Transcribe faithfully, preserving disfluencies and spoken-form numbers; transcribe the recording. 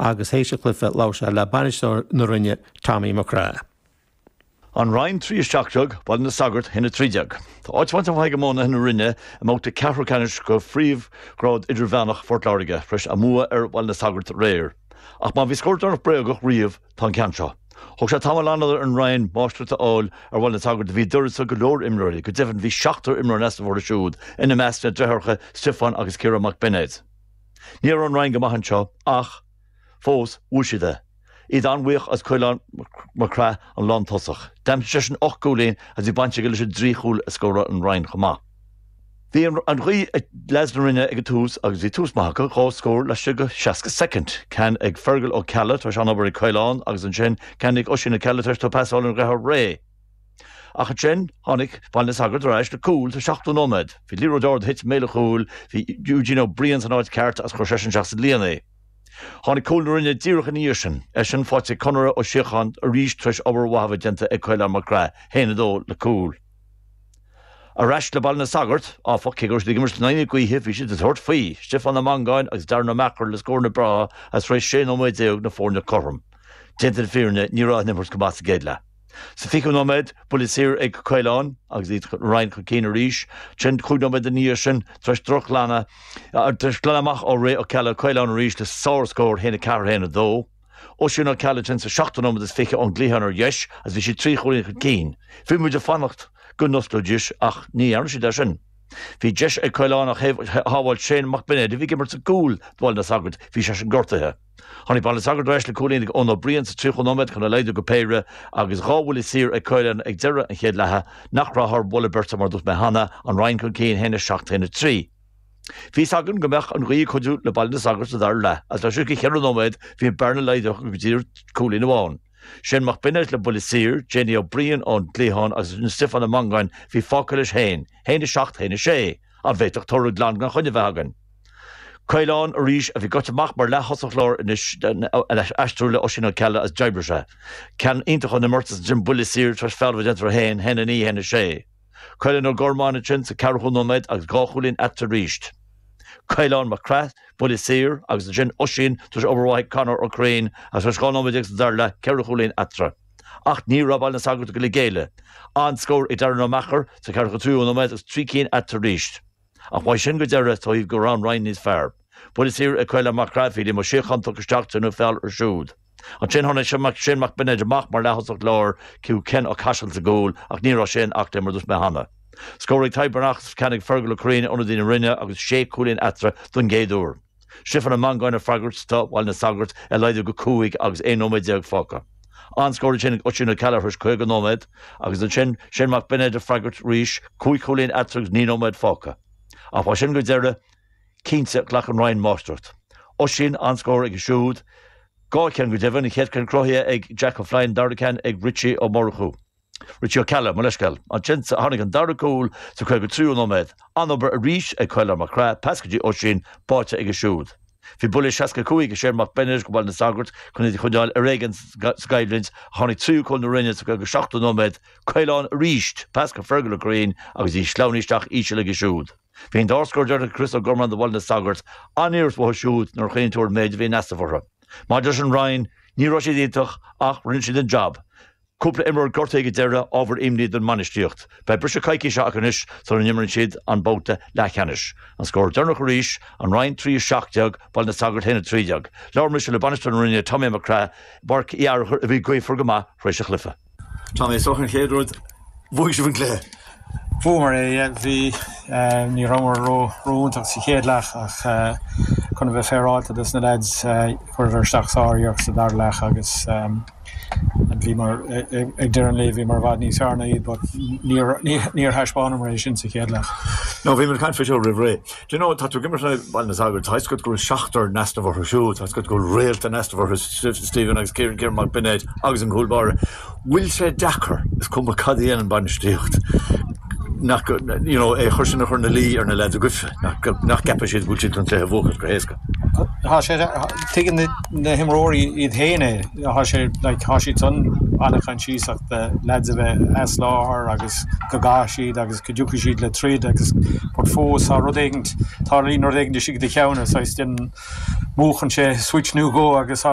agus théis an chluiche labhair sé le bainisteoir na Rinne Tommy McCrae. An Rinn trí a seacht déag Baile na Sagart haon a trí déag. Tá áit bhainte amach ag iománaithe na Rinne i mbabhta ceathrú ceannais de phríomhghrád idirmheánach Phort Láirge tar éis a mbua ar Bhaile na Sagart aréir. Ach má bhí scór deireanach bréagach riamh tá an ceann seo. Thóg sé tamall an ar an Rinn máistreacht a fháil ar Bhaile na Sagart a bhí d'uireasa go leor imreoirí, go deimhin bhí seachtar imreoir in easnamh orthu siúd ina measc na deartháireacha Stiofán agus Ciarán Mac Beinéid. Ní raibh an Rinn go maith anseo ach fós bhuaigh siad é. Iad an-bhuíoch as Caolán Mac Craith an lántosach. D'aimsigh seisean ocht gcúilín agus bhí baint aige leis an dtrí chúl a scóráil an Rinn chomh maith. Bhí an ghaoth ag leaids na Rinne ag an tús agus bhí tús maith acu dhá scór laistigh de seasca soicind. Ceann ag Fergal Ó Ceallaigh tar éis an-obair ag Caolán agus ansin ceann ag Oisín Ó Ceallaigh tar éis dó pas a fháil óna dheartháir Ray. Ach ansin tháinig Baile na Sagart ar ais le cúl sa seachtú nóiméad. Bhí liathróid ard a thit i mbéal an chúil, bhí Eugene Ó Briain san áit ceart agus chuir seisean isteach sa líon é. Tháinig cúl na Rinne díreach ina dhiaidh sin, eisean faighte ag Conor Ó Síocháin arís tar éis obair mhaith a bheith déanta ag Caolán Mac Craith, haon a dó le cúl. Ar ais le Baile na Sagart, áfach, cé go raibh siad ag imirt in aghaidh na gaoithe, bhí siad ag tabhairt faoi, Stiofán Ó Mangáin agus Darren Ó Meachair le scóranna breátha agus tar éis sé nóiméad déag na foirne cothrom. Déanta na fírinne, ní raibh an imirt go maith sa gcéad leath. Sa fichiú nóiméad, buille saor ag Caolán agus iad Rinn chun cinn arís. Ansin cúig nóiméad ina dhiaidh sin tar éis drochghlanadh tar éis glanadh amach ó Ray Ó Ceallaigh Caolán arís le sárscór haon a ceathair haon a dó. Oisín Ó Ceallaigh ansin sa seachtú nóiméad is fiche ón gcliathán ar dheis agus bhí siad trí chúilín chun cinn. Bhí muid ag fanacht go n-osclóidís ach ní dhearna siad é sin. Bhí deis ag Caolán ach shábháil Shane Mac Beinéid a bhí ag imirt sa gcúl do Bhaile na Sagart, bhí seisean gortaithe. Tháinig Baile na Sagart ar ais le cúilín ag Eoin Ó Briain sa tríocha nóiméad chun a laghdú go péire agus dhá bhuille saor ag Caolán ag deireadh an chéad leatha nach raibh thar mholadh beirte mar dúirt mé cheana, an Rinn chun cinn haon a seacht haon a trí. Bhí a fhios againn go mbeadh an ghaoth ag cuidiú le Baile na Sagart sa dara leath agus laistigh de cheithre nóiméad bhí an bearna laghdaithe go dtí cúilín amháin. Shane Mac Beinéid le buille saor, Jamie Ó Briain ón gcliathán agus Stiofán Ó Mangáin bhí fágtha leis féin, haon a seacht haon a sé, an bhféadfadh toradh glan gan choinne bheith againn. Caolán arís a bhí gaibhte amach mar leath-thosach láir anois aistriú le Oisín Ó Ceallaigh as d'oibrigh sé. Ceann iontach ón imirt is ansin buille saor tar éis feall a bheith déanta air féin, haon a naoi haon a sé. Caolán Ó Gormáin ansin sa ceathrú nóiméad agus dhá chúilín eatarthu arís. Caolán Mac Craith, buille saor agus ansin Oisín tar éis obair mhaith ag Conor Ó Curraoin agus tar éis dhá nóiméad déag sa dara leath ceithre chúilín eatarthu. Ach ní raibh Baile na Sagart ag dul ag géilleadh. An-scór ag Darren Ó Meachair sa ceathracha tríú nóiméad agus trí cinn eatarthu arís. Ach uaidh sin go deireadh tá go raibh an Rinn níos fearr. Buille saor ag Caolán Mac Craith bhí Liam Ó Síocháin tugtha isteach déanadh feall air siúd. Ansin tháinig Shane Mac Beinéid amach mar leath-thosach láir chuig Ken Ó Caiseal sa gcúl ach ní raibh sé in aclaí mar dúirt mé cheana. Scór ag Tadhg Breathnach ceann ag Fergal Ó Curraoin ionadaí na Rinne agus sé chúilín eatarthu don gcéad uair. Stiofán Ó Mangáin ag freagairt do Bhaile na Sagart é laghdú go cúig agus aon nóiméad déag fágtha. An-scór ansin ag Oisín Ó Ceallaigh tar éis caoga nóiméad agus ansin Shane Mac Beinéid ag freagairt arís cúig chúilín eatarthu agus naoi nóiméad fágtha. Ach uaidh sin go deireadh cinnte ghlac an Rinn máistreacht. Oisín an-scór aige siúd, dhá cheann go deimhin, an chéad cheann cruthaithe ag Jack O'Flynn, dara ceann ag Richie Ó Murchú. Richie Ó Ceallaigh, mo leithscéal. Ansin tháinig an dara cúl sa caoga tríú nóiméad. An-obair arís ag Caolán Mac Craith, pas go dtí Oisín, báite aige siúd. Bhí buille seasca cúig ag Shane Mac Beinéid go Baile na Sagart chun iad a choinneáil ar éigean sa gcoimhlint. Tháinig tríú cúl na Rinne sa caoga seachtú nóiméad. Caolán arís, pas go Fergal Ó Curraoin agus í sleamhnaithe isteach íseal aige siúd. Bhí an dá scór deireanach ag Chris Ó Gormáin do Bhaile na Sagart an-iarracht uathu siúd nuair a chuimhníonn tú ar an méid a bhí in easnamh orthu. Maidir leis an Rinn, ní raibh siad iontach ach rinne siad an jab. Cúpla imreoir gortaithe ag an deireadh, ábhar imní don mbainistíocht. Beidh briseadh coicíse acu anois sula n-imríonn siad an babhta leathcheannais. An scór deireanach arís, an Rinn trí a seacht déag, Baile na Sagart haon a trí déag. Labhair mise le bainisteoir na Rinne, Tommy Mac Craith, i bPáirc Uí Fhearchair a bhí gaofar go maith tar éis an chluiche. Tommy, is dócha an chéad rud, bhuaigh sibh an cluiche. Bhuamar é, yeah. Bhí, ní rabhamar ró ró-iontach sa chéad leath ach chun a bheith féaráilte dos na lads, chuireadar isteach sár-iarracht sa dara leath agus bhíomar, ag deireadh an lae, bhíomar i bhfad níos fearr ná iad but níor níor thaispeánamar é sin sa chéad leath. No, bhí muid ag caint faoi seo roimh ré. Do you know, tá tú ag imirt le Baile na Sagart, tá a fhios agat go bhfuil seachtar in easnamh orthu siúd, tá a fhios agat go bhfuil réalta in easnamh orthu, Stephen agus Kieran, Kieran Mac Beinéid agus an cúl báire. Bhfuil sé deacair, is cuma cad a dhéanann bainistíocht, nach, you know, é chur sin a chur ina luí ar na lads agaibhse, nach, nach gceapann siad go bhfuil siad chun cluiche a bhuachan go héasca? Tá sé, tuigeann na, na himreoirí iad féin é, tá sé, like, tá siad san an-choinsiasach de lads a bheith as láthair agus go gcaithfidh siad agus go dtiocfaidh siad le troid agus but fós tá rud éigint, tarlaíonn rud éigint istigh i do cheann, saghas déanann, múchann sé switch nó dhó agus tá